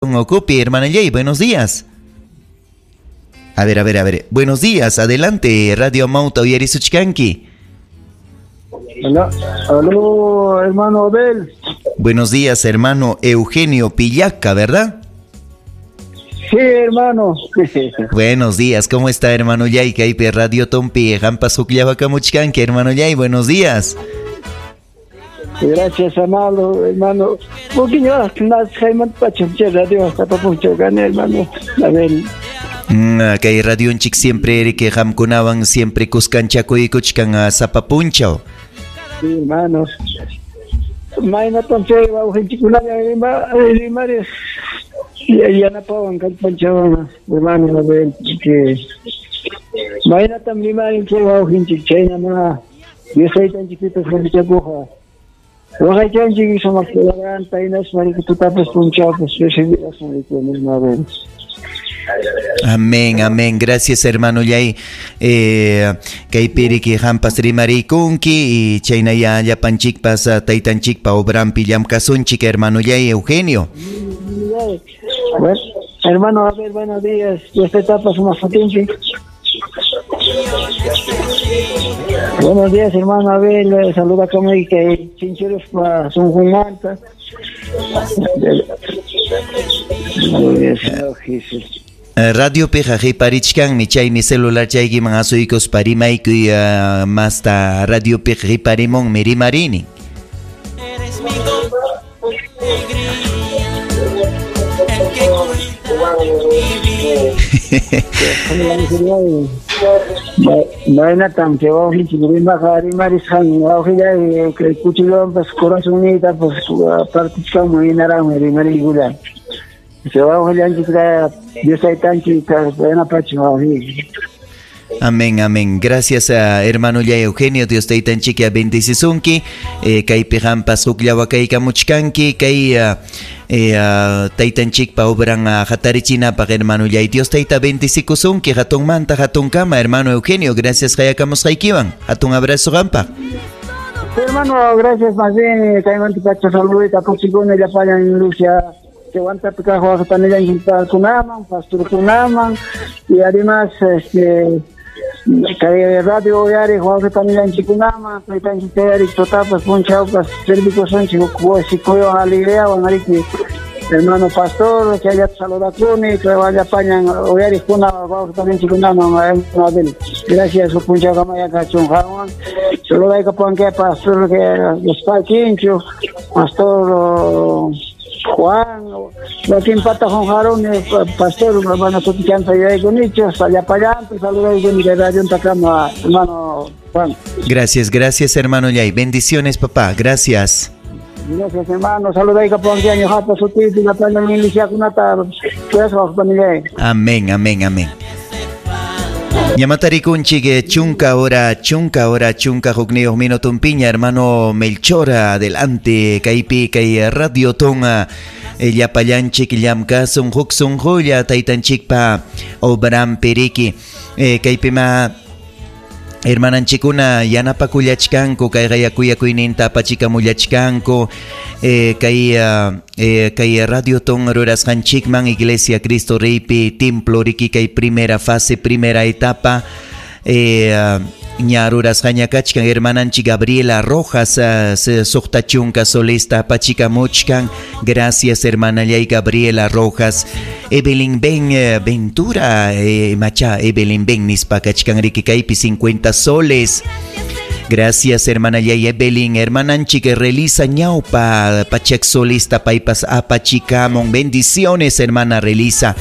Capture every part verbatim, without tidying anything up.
Ocupi, hermana Yay, buenos días. A ver, a ver, a ver. Buenos días, adelante, Radio Amauta uyarisuchkanki. Hola, aló, hermano Abel. Buenos días, hermano Eugenio Pillaca, ¿verdad? Sí, hermano. Buenos días, ¿cómo está, hermano Yay? Kaypi Radio Tompi, hampas hukllawakamuchkanki, hermano Yay, buenos días. Gracias, amado hermano. Hermano. Abel. Mm, kay radionchik siempre que hamkunawan siempre kuskanchakuykuchkan sapa punchaw. Sí, hermano. Maynatam chay wawqinchikkunalla rimariq yanapawan kallpanchawan, hermano Abel. Maynatam rimarin chay wawqinchik chaynama Dios taytanchikpipas qhipichakuqa. Waqaychanchik sumaq palabranta hinaspa tutapas punchawpas hermano. Amén, amén. Gracias, hermano Yay. Eh, kaypiriki hampas rimarikunki y chaynaya llapanchikpas taytanchikpa obrampi llamkasunchik, hermano Yay Eugenio. Bueno, hermano, a ver, buenos días. Esta etapa sumaq sutinchik. Buenos días, hermano Abel. Saluda como que chincheros pa sunqunmanta. Radio piqa qhiparichkanmi, chaymi celular chaykiman asuykuspa rimaykuy uh, masta radio piqa qhiparimunmi rimarini. Eres mi alegría, el que cuida de mi vida. Maynatam chay wawqinchik rimaqa rimarisqan wawqillay kay kuchilluwanpas corazonniytapas partichkanman hinaraqmi rimariykulla. Chay wawqillanchikta Dios taytanchik yanapachun wawqiyki. Amén, amén. Gracias a hermano Yay Eugenio, Dios taytanchik bendicisunki. Eh, kaypi hampas hukllawakaykamuchkanki, kay uh, eh, uh, taytanchikpa obran uh, hatarichinapaq, hermano Yay. Dios tayta bendicikusunki, hatunmanta hatunkama, hermano Eugenio. Gracias hayakamusqaykiwan. Hatun abrazo qampaq. Hermano, gracias más bien. Kaymanta pacha saludita kusikuna llapallan Lucia. Chehuantapi kaq wawqipanillanchikkunaman, pastorkunaman y además este kay radio uyariq wawqipanillanchikkunaman, taytanchik tayariq tutapas punchawpas servikusunchik kusikuywan alegriawan ariki hermano pastor, chayllata saludakuni, llapañan uyariqkuna wawqipanillanchikkunaman, hermano Abel. Gracias punchawkamaya kachun qanwan. Saludaykapuwanki pastor que Espaquincho, pastor Juan, wakin pata Juan pastor, hermano sutichanta yuyaykunichu, llapallanpi saludaykuni kay radiontakama, hermano Juan. Gracias, gracias, hermano Yay. Bendiciones, papá. Gracias. Gracias, hermano. Saludaykapuwanki ñuqapa sutiypi llapallan iglesiakunata. Amén, amén, amén. Ñamatarikunchik chunka hora, chunka hora, chunka hukniyuq minutumpiña, hermano Melchor, adelante, kaypi kay Radio Tonga, llapallanchik llamkasun huk sunqulla taytanchikpa obrampi riki, kaypima hermananchikuna yanapakullachkanku, kay qayakuyakuyninta apachikamullachkanku, eh, kay eh, kay Radio Ton rurasqanchikman Iglesia Cristo Reypi templo riki kay primera fase, primera etapa, eh, ña rurasqaña kachkan hermananchik Gabriela Rojas, uh, suqta chunka solista apachikamuchkan. Gracias, hermana Yay Gabriela Rojas. Evelyn Ben eh, Ventura, eh, macha Evelyn Ben nispa kachkan riki kaypi cincuenta soles. Gracias, hermana Yay Evelyn. Hermananchik Relisa ñawpa pachak solista paypas apachikamon. Bendiciones, hermana Relisa.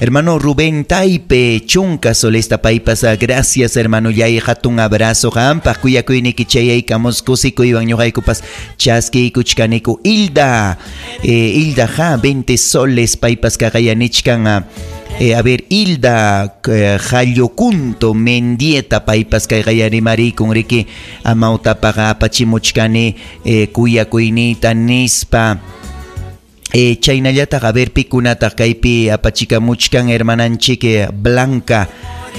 Hermano Rubén Taipe, chunka solista paypas. Gracias, hermano Yay. Hatun abrazo. Qampaq kuyakuyniki chayaykamus kusikuywan ñuqaykupas chaskiykuchkaniku. Hilda, eh, Hilda ja, veinte soles paypas kaqayanichkan. Eh, a ver, Hilda eh, Jallocunto Mendieta paypas kayqayarimarikun riki amawtapaqa apachimuchkani eh, kuyakuyniyta nispa. Eh, chaynallataq a ver pikunataq kaypi apachikamuchkan hermananchik Blanca,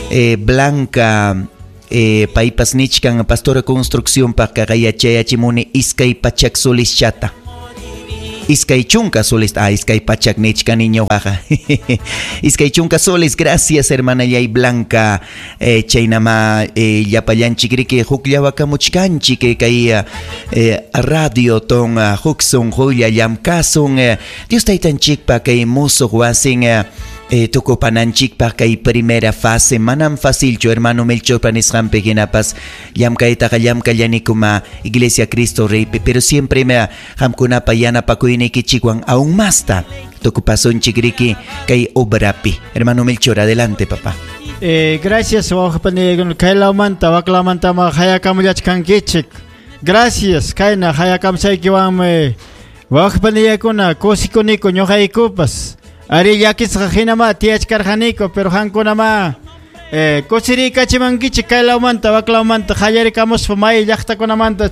eh, Blanca eh, paypas nichkan pastora construcción paq kaqayachayachimuni iskay pachak solischata. Iskay chunka soles, ah, iskay pachak nichkani ñuqaqa. Iskay chunka soles, gracias hermanallay Blanca. Eh, chaynama eh, llapallanchik riki hukllawakamuchkanchik eh, kay eh, radio ton huk sunqulla llamkasun eh, Dios taytanchikpa kay musuq wasin eh, eh, tukupananchikpaq kay primera fase manam facilchu hermano Melchorpa nisqanpi hinapas llamkaytaqa llamkallanikuma Iglesia Cristo Reypi, pero siempre me qamkunapa yanapakuynikichikwan aún masta tukupasunchik riki kay obrapi. Hermano Melchor, adelante papá. Eh, gracias wawqipani kaylawmanta waklawmantama hayakamullachkankichik. Gracias kayna hayakamsaykiwanmi wawqipaniyakuna kusikuniku ñuqaykupas. Ari llakisqa hinama tiyachkarqaniku, pero qankunama eh, kusiriykachimankichik kaylawmanta waklawmanta qallarikamuspa may llaqtakunamanta.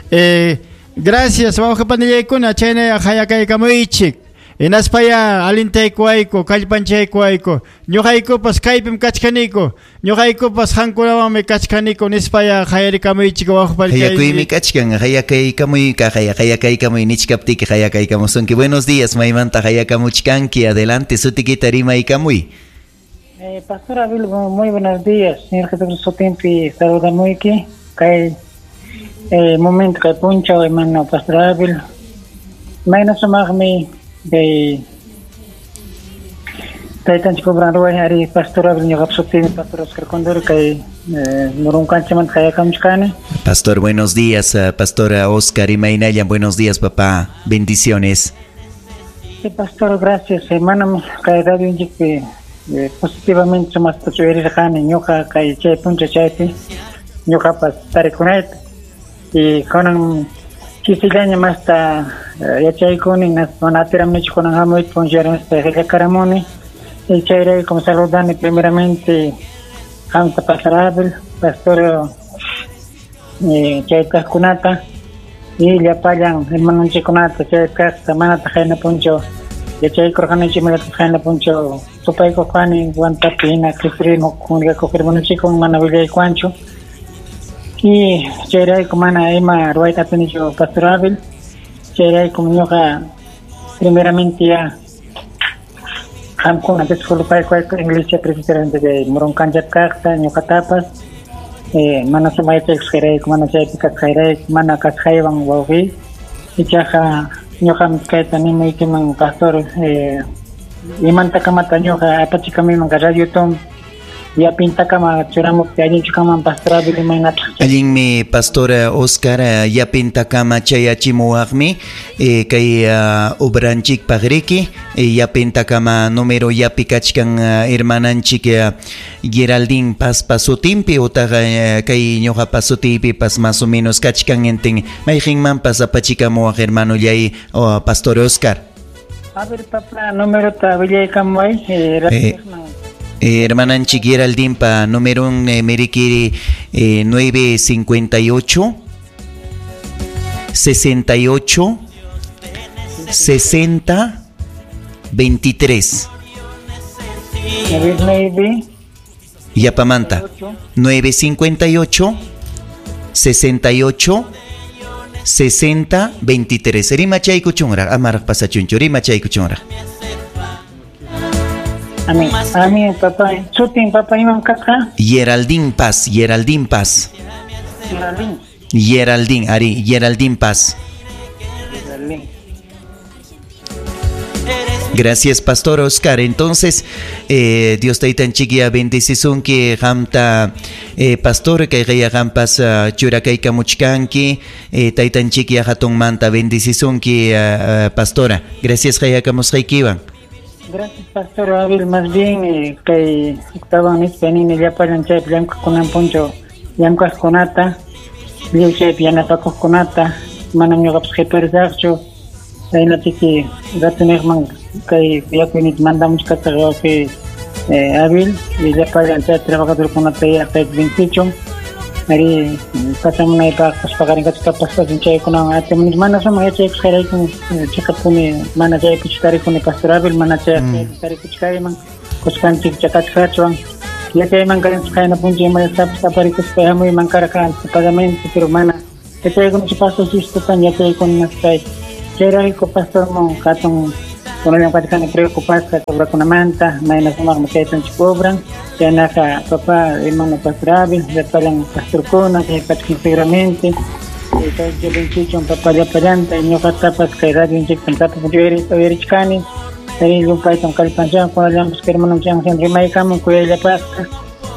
Eh, gracias wawqipanillaykuna chayna hayakaykamuychik. Hinaspaya alintaykuwayku kallpanchaykuwayku ñuqaykupas kaypim kachkaniku ñuqaykupas qankunawanmi kachkaniku nispaya hayarikamuychik wawqipanillaykuna. Hayakuymi kachkan hayakaykamuyka hayakaykamuy nichkaptiki hayakaykamusunki. Buenos días, maymanta hayakamuchkanki, adelante sutikita rimaykamuy. Eh, Pastor Abel, muy buenos días. Señor Jesucristo sutinpi saludamuyki kay eh, momento kay punchaw hermano Pastor Abel. Mayna sumaqmi kay taytanchik obran ruway ari Pastor Abel ñuqap sutimi Pastor Oscar Condori kay eh, Murunkanchimanta hayakamuchkani. Pastor, buenos días, uh, Pastor Oscar imaynallan, buenos días papá, bendiciones. Sí, Pastor, gracias. Hermano, kay radionchikpi eh, positivamente sumaqta chuyarirqani ñuqa kay chay puncha chaypi ñuqapas tarikunayta y kunan chisillaña masta yachaykuni mana atiramnichu kunan hamuyta puncharamista qillakaramuni y chayraykum saludani primeramente qamta Pastor Abel, Pastor eh, chaytaqkunata y llapallan hermanonchikkunata chaytaqta manataq qayna punchaw yachaykurqanichik imallataq qayna punchaw tupaykuqani Huantapi hina Cristo comunicakuq hermanonchikwan mana willaykuwanchu y chayrayku mana ima ruwayta atinichu Pastor Abel. Chayraykum ñuqa primeramente ya qamkuna disculpaykuwayku Iglesia Presbiteriana de Murunkanchap kaqta ñuqatapas eh, mana sumaychaykusqayrayku mana chaypi kasqayrayku mana kasqaywan wawqiy ichaqa ñuqam kayta nimaykiman pastor eh, imantakamata ñuqa apachikamuyman kay radio ton yapintakama churamupti allinchu kanman Pastor Abel imaynataq. Allinmi Pastor Oscar yapintakama chayachimuwaqmi eh, kay uh, obranchikpaq riki eh, yapintakama número yapi kachkan uh, hermananchik uh, Geraldine Pazpa sutinpi utaq uh, kay ñuqapa sutiypipas más o menos kachkan enten mayqinmanpas apachikamuwaq hermanollay uh, Pastor Oscar. A ver papá, número ta willaykamuway eh, eh, Eh, hermananchik Geraldine pa número eh, merikiri eh, nueve cincuenta y ocho sesenta y ocho sesenta veintitrés. Yapamanta nueve cincuenta y ocho sesenta y ocho sesenta veintitrés. Rimachaykuchunraq amaraq pasachunchu rimachaykuchunraq. A mí, a mí, papá, sutin, papá, imam kasqa. Geraldine Paz, Geraldine Paz. Geraldine. Geraldine, ari, Geraldine Paz. Geraldine. Gracias, Pastor Oscar. Entonces, eh, Dios taytanchikia bendecisunki qamta eh, pastor kayqaya qampas uh, churakaykamuchkanki eh, taytanchikia hatunmanta bendecisunki uh, uh, pastora. Gracias qayakamusqaykiwan. Gracias, Pastor Abel. Más bien, eh, kay estaban nispa nini llapallan chaypi llamk'aqkunan punchaw llamk'aqkunata lliw chaypi yanapakuqkunata manam ñuqapas qiparisaqchu chaynatiki ratuniqman kay yakuynita mandamuchkasaq wawqi eh, Abel y llapallan chay trabajadorkunata yaqayta vencichun ari pachamunaypaqpas paqarinkachu tapaspasun chaykunawan atimunis mana sumaq yachaykusqayraykum chiqapuni mana chaypichu tarikuni Pastor Abel mana chay tarikuchkayman kuskanchik chakachkachwan yachayman karanchik qayna puncha imallatapis aparikuspa hamuyman karqa anticipadamente pero mana yachaykunachu pastor sistatan yachaykuna chay Chayrayku pastorman hatun kunallan kachkani preocupasqa obrakunamanta mayna sumaqmi kaytanchik obran chaynaqa papá hermano pastor Abel llapallan pastorkuna kay pacha íntegramente kay Jovenchichon papá llapallanta ñuqatapas kay radionchiktam tapas uyarichkani ari llumpaytam kallpanchan kunallanpas kay hermanonchik rimaykamun kuyayllapasqa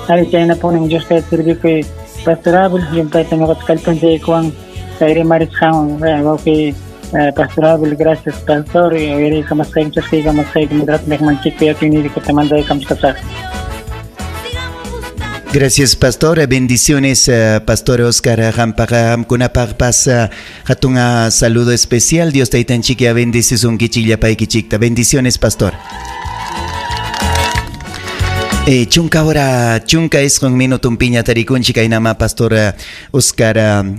ari chaynapunin Dios tayta servikuy pastor Abel llumpaytam ñuqata kallpanchaykuwan kay rimarisqanwan wawqi Pastor Abel, gracias pastor uyariykamasqayki chaskiykamasqayki migratomiqmanchikpi yakuyniykuta mandaykamusqasaq. Gracias, pastor. Bendiciones, pastor Oscar Qampaqa qamkunapaqpas hatun saludo especial. Dios taytanchik bendecisunkichik llapaykichikta. Bendiciones, pastor. Eh, chunka hora, chunka isqun minutunpiña tarikunchik kaynama pastor Oscar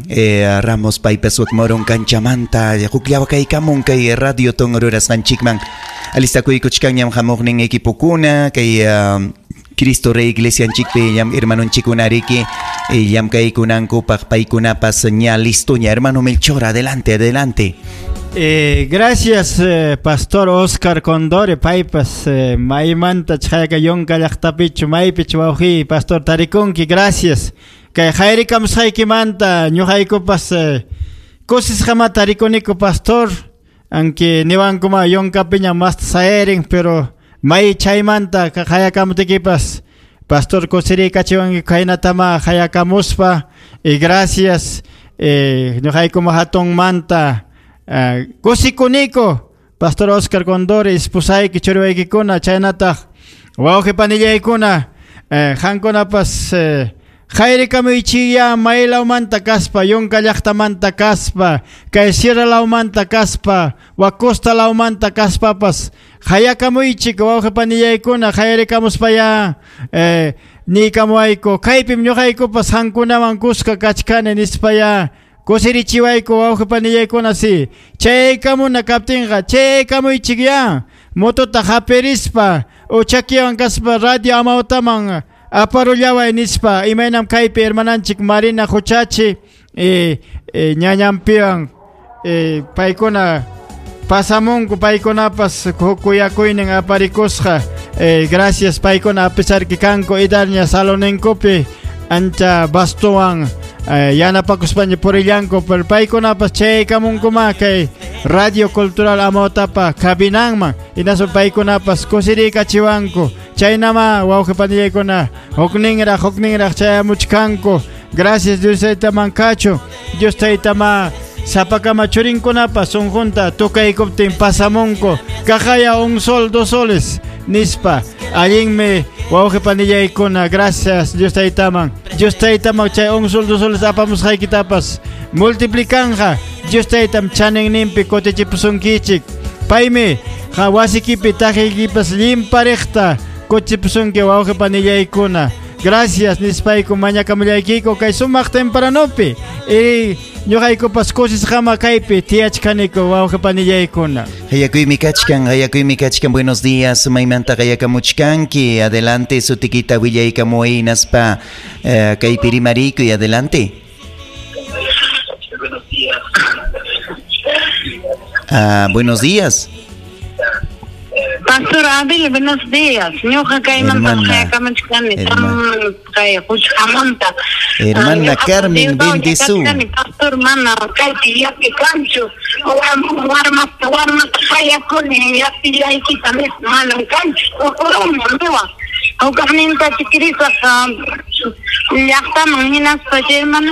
eh, Ramos paypas wakmoron kanchamanta hukllawakaykamun kay radio ton rurasqanchikman alistakuykuchkanñam hamuqnin equipokuna kay uh, Cristo Rey Iglesianchikpi llam hermanonchikkuna riki llamkaykunankupaq paykunapas ña listoña. Hermano Melchor, adelante, adelante. Eh, gracias, eh, Pastor Oscar Condore, paypas eh, maymanta chayqa yunka llaqtapichu maypichu wawqi Pastor tarikunki, gracias. Kay hayrikamusqaykimanta ñuqaykupas eh, kusisqama tarikuniku pastor, aunque niwankuma yunkapiña masta sayarin, pero may chaymanta hayakamutikipas pastor kusiriykachiwanki khaynatama hayakamuspa y gracias eh, ñuqaykuma hatunmanta Uh, kusikuniko Pastor Oscar Condore esposayki churiwaykikuna chaynataq wawqi panillaykuna eh, qankunapas eh, hayrikamuykchiya maylawmanta kaspa yunka llaqtamanta kaspa kay sierra lawmanta kaspa wak costa lawmanta kaspapas hayakamuychik wawqi panillaykuna hayrikamuspaya eh, niykamuwayku kaypim ñuqaykupas qankunawan kuska kachkani nispaya kusirichiwayku wawqi panillaykuna si chaykamuna kaptinqa chaykamuychikya motota hapirispa uchakiwan kaspa radio amawtaman aparullaway nispa imaynam kaypi hermananchik Marina Huchachi eh, eh, ñañanpiwan eh, paykuna pasamunku paykunapas kuyakuynin aparikusqa eh, gracias paykuna a pesar que kanku idarña saloninkupi ancha bastowan eh, yanapakuspaña purillanku pero paykunapas chaykamunkuma kay Radio Cultural Amawtapa kabinanman hinaspa paykunapas kusiriykachiwanku chaynama wawqi panillaykuna hukninraq hukninraq chayamuchkanku. Gracias Dios taytaman kachu Dios taytama sapakama churinkunapas sunqunta tukaykuptin pasamunku kaqaya un sol dos soles nispa allinmi wawqi panillaykuna. Gracias Dios taytaman Dios taytaman chay un sol dos soles apamusqaykitapas multiplicanja Dios taytam chaninninpi kutichipusunkichik paymi wasikipi taqiykipas llimpariqta kutichipusunki wawqi panillaykuna. Gracias nispayku mañakamullaykiku kay sumaq tempranopi y ñuqaykupas kusisqama kaypi tiyachkaniku wawqi panillaykuna. Hayakuymi kachkan, hayakuymi kachkan. Buenos días, maymanta hayakamuchkanki. Adelante, sutikita willaykamuy hinaspa eh, kaypi rimarikuy, adelante. Buenos días. Ah, buenos días. Pastor Abel, buenos días. Ñuqa kaymanta hayakamuchkani, kay Huchqamanta. Hermana Carmen, bendizu. Pastor mana kaypi yapi kanchu. Warmasta warmasta hayakuni yapillaykita manam kanchu. Uqurunmi niwan. Hukaqninta chikirisaq llaqtaman hinaspa hermana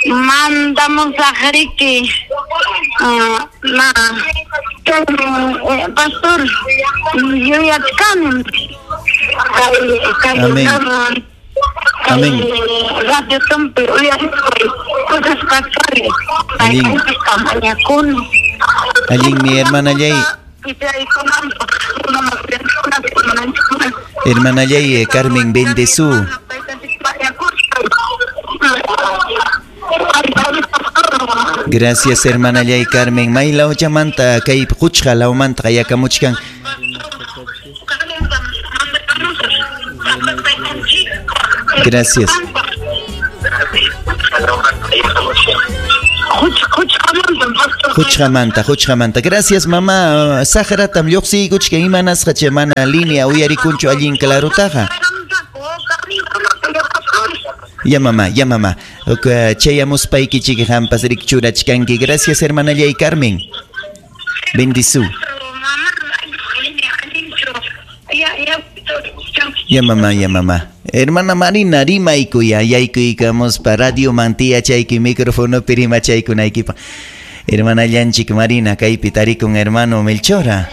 mandamusaq riki na pastor yuyachkanim kay Amén. Amén. Radio Tumpi uyarispay kusisqa Allin. Allin mi hermana Yay. Hermana Yay, Carmen bendezú. Gracias, hermana Yay Carmen. Mayla ochamanta kay Huchqa lawmanta hayakamuchkan. Gracias. Huchqamanta, huchqamanta. Gracias, mamá. Saqratam lluqsiykuchkan imanasqa mana línea uyarikunchu allin clarutaqa. Ya mamá, ya mamá. Chayamuspaykichik hampas rikchurachkanki. Gracias, hermanallay Carmen. Bendizu. Ya mamá, ya mamá. Hermana Marina, rimaykuya, yaykuykamuspa radio mantia chayki micrófono pirimachaykunaykipa. Hermana Llanchik Marina, kaypi tarikun hermano Melchora.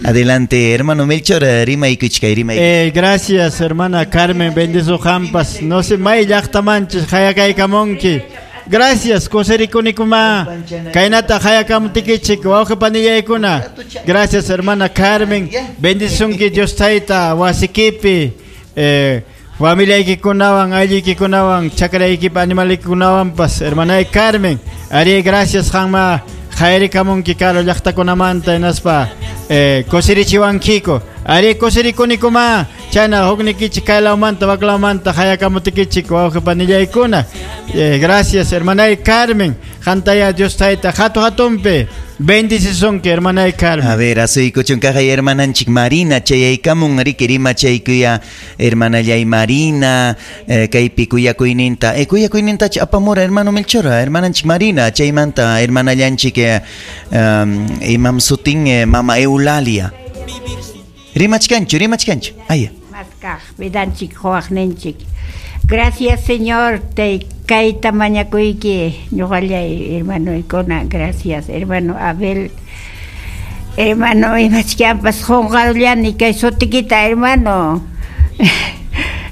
Adelante, hermano Melchora, rimaykuchkay, rimaykuchkay. Eh, gracias, hermana Carmen, bendizo hampas. No sé, may llaqtamanchis, hayakaykamunki. Gracias, kusirikunikuma. Kaynata hayakamutikichik, wawqi panillaykuna. Gracias, hermana Carmen. Bendisunki Dios tayta, wasikipi. Eh, familiaykikunawan, aylluykikunawan, chakraykipa animalaykunawanpas, hermana Carmen. Ari, gracias, hanma. Jairikamunki karo llaqtakunamanta hinaspa eh, kusirichiwankiko. Ari kusirikunikuma. Chayna huknikichik kaylawmanta waklawmanta hayakamutikichik wawqi panillaykuna. Eh, gracias, hermana Carmen. Hantaya Dios tayta hatu hatumpi. Bendicisunki, hermana Carmen. A ver, asuykuchun kaqay hermananchik Marina chayaykamun riki rimachaykuya hermanallay Marina eh, kaypi kuyakuyninta eh, kuyakuynintacha apamura hermano Melchora hermananchik Marina chaymanta hermanallanchik eh, um, imam sutin eh, mama Eulalia. Rimachkanchu, rimachkanchu. Aya. Maskaq vidanchik huwaqninchik. Gracias, Señor, te kayta mañakuyki ñuqallay hermanoykuna. Gracias, hermano Abel. Hermano, imachkanpas qunqarullani kay sutikita, hermano.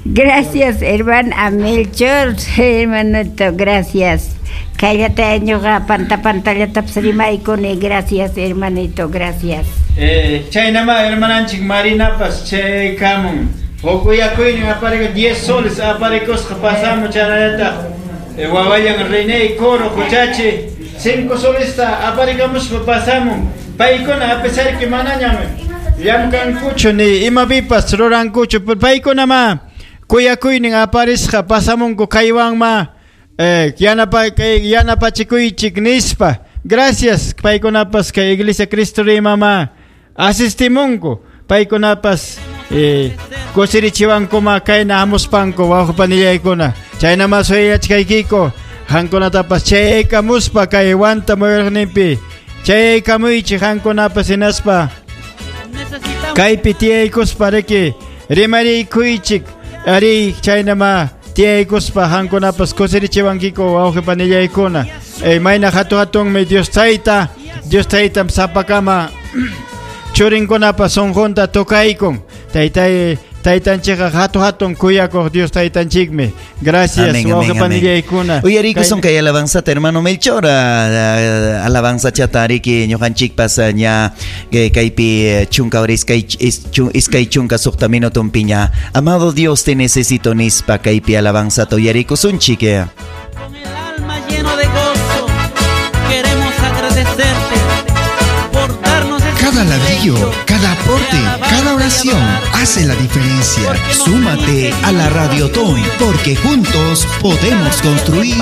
Gracias, hermano Melchor, hermanito, gracias. Kayllata ñuqa panta pantallatapas rimaykuni. Gracias, hermanito, gracias. Eh, chaynama hermananchik Marinapas chaykamun. Hukuyakuynin apariko diez soles aparikusqa pasamu chaynallataq eh, wawayan René Coro huchachi cinco solesta aparikamuspa pasamun. Paykuna a pesar que manañam llamkankuchu ni imapipas rurankuchu, paykunama kuyakuynin aparisqa pasamunku kaywanma eh, yanapa kay yanapachikuychik nispa. Gracias paykunapas kay Iglesia Cristo Rey mama asistimunku paykunapas eh, kusirichiwankuma kayna hamuspanku wawqipanillaykuna. Chaynama suyachkaykiko hankunatapas chayaykamuspa kay wanta muyuriqninpi chayaykamuychik hankunapas hinaspa kaypi tiyaykuspa riki rimariykuychik ari chaynama tiyaykuspa hankunapas kusirichiwankiko wawqipanillaykuna. Eh, mayna hatu hatunmi Dios tayta, Dios taytam sapakama churinkunapas sunqunta tukaykun. Taytay taytanchikqa hatu hatun kuyakuq Dios taytanchikmi. Gracias, wawqi panillaykuna. Uyariykusun kay alabanzata hermano Melchor, alabanza chata riki ñuqanchikpas ña kaypi chunka hora iskay iskay chunka suqta minutunpiña. Amado Dios te necesito nispa kaypi alabanzata uyariykusunchik. Con el alma lleno de gozo queremos agradecerte por darnos este Cada ladrillo, cada aporte, cada oración hace la diferencia. Súmate a la Radiotón, porque juntos podemos construir